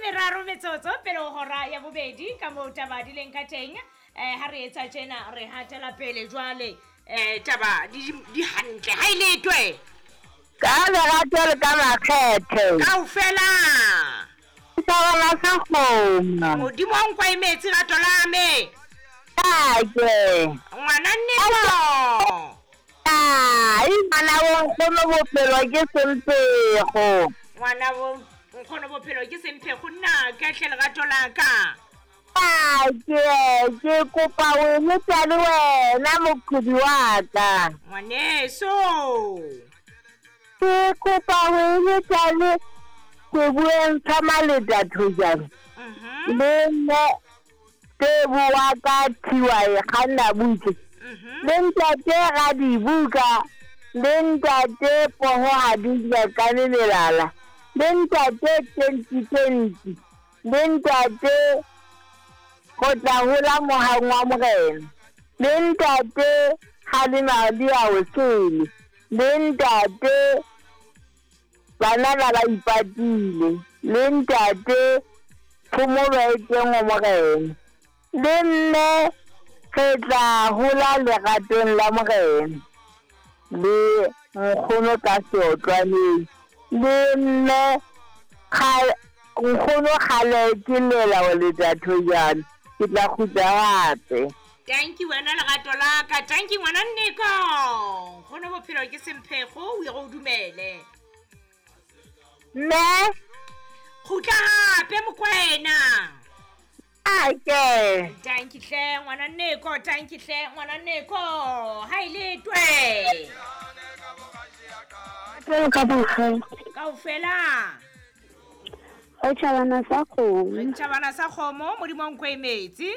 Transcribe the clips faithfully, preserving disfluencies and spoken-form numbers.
meraro metsotso pele ho hora ya bobedi ka moo taba di leng ka teng. Eh ha re etsa tjena re hatela pele jwale eh taba di di hantle ha ile twe. Ka lerato le ka makgethe. Kaofela. Thabana sa kgomo. Modimo wa nkwa metsi rato la me. Ake. Ngwana nneko. Ai, ngwana bo nkgono bophelo ke semphego. Ngwana bo nkgono bophelo ke semphego nna ka hle lerato la ka. Ake, ke kopa o eletsa le wena moqhubi wa ka. Ngwaneso. Ke kopa o eletsa le ke bueng ka maleta thojana. Mhm. Le nne ke bua ka thiwa e kganna butle. Mhm. Le ntate ga dibuka, le ntate poho ha di nyakane melala, le ntate twenty twenty, le ntate go tla hola mohang wa morena, le ntate ha le madi a o sele, le ntate banana ba ipatile, le ntate phomolo e teng ho morena, le mme re tla hola leratong la morena, le nkgono ka seotlwaneng, le mme nkgono kgale ke lela ho leta thojana, ke tla kgutla hape. Thank you wena lerato la ka, thank you ngwana nneko. Nkgono bophelo ke semphego, o ye go dumele. Mme kgutla hape Mokwena. Ake. Thank you hle ngwana nneko, thank you hle ngwana nneko. Ha ile twe. Ka bohle. Kaofela. O tjhabana sa kgomo. Re tjhabana sa kgomo, Modimo nkwe metsi.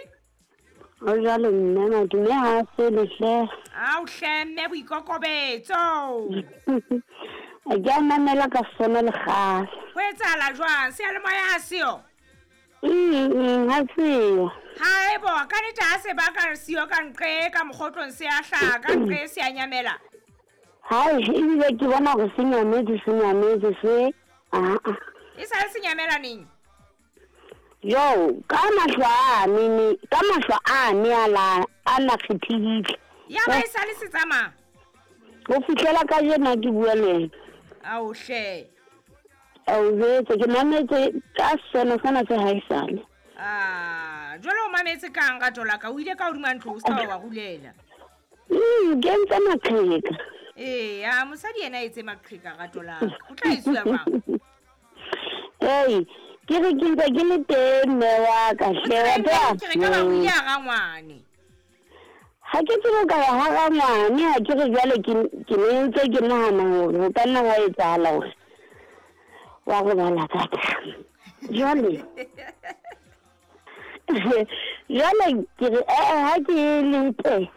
O jwalo mme madume ha se le hle. Ao hle mme boikokobetso. Ke a mamela ka sona le kgale. Ho etsahala jwang? Seyalemoya ha seo? Mm, ha seo. Haebo, ka nnete ha se baka siyo ka nqe ka mokgotlong se a hlaha, ka nqe se a nyamela. Hai, ebile ke bona hore se nyametse, se nyametse se. Ah ah. E sa le se nyamela neng? Yo, ka mahlo a ne, ka mahlo a ne a la a na kgethehile. Ya ba e sa le se tsamaya. Ho fihlela ka jena ke bua le wena. Ao hle. Ao jwetse ke mametse ka sona sena se haesale. Ah, jwale o mametse kang ka thola ka o ile ka hodima ntlo o ska wa rulela. Mm, ke ntse maqheka. Eh, a mosadi yena etse maqheka ka thola. O tla isiwa mang? Ei, ke re ke ntse ke le teng mme wa ka hle wa tla. Ke re ka ba o ile a rangwane. Ha ke tsebe ka ya ha rangwane, ha ke re jwale ke ke ne ntse ke nahana hore ho ka nna hwa etsahala hore wa robala ka tla. Jwale. Jwale ke re eh ha ke le teng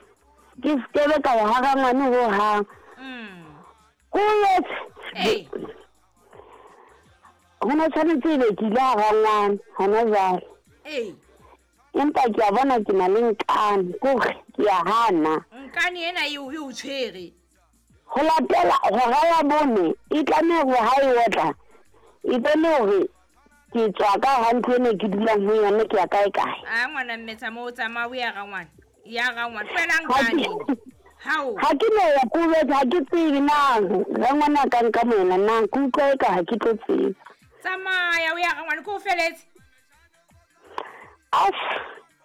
ke skebe ka ya ha rangwane ho hang. Mm. Ko etse. Ei. Hona tshwanetse ebe ke ile ha rangwane hona jwale. Ei. Empa ke a bona ke na le nkane, kore ke a hana. Nkane ena eo e o tshwere. Ho latela hora ya bone e tlameha hore ha e otla e bone hore ke tswa ka ha ntlo ene ke dulang ho yona ke ya kae kae. Ah ngwana mme tsamaya o tsamaya o ya rangwane. Ya rangwane tlohela nkane. Hao. Ha ke no ya kubetsa ha ke tsebe na rangwana ka nka moena na ke utlwa eka ha ke tlo tseba. Tsamaya o ya rangwane ke o feletse. Af,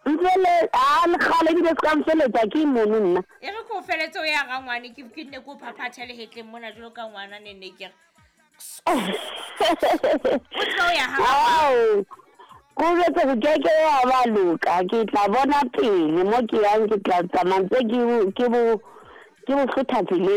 mfele a le kgale ebile se ka mfeletsa ke mono nna. E re ke o feletse o ya rangwane ke ke nne ke o phaphathe lehetleng mona jwalo ka ngwana ne ne ke re. O tlo ya ha Ao. Ko jwetse ho ke ke ya ba loka, ke tla bona pele mo ke yang ke tla tsamaya ntse ke ke bo ke bo hlotha tseleng.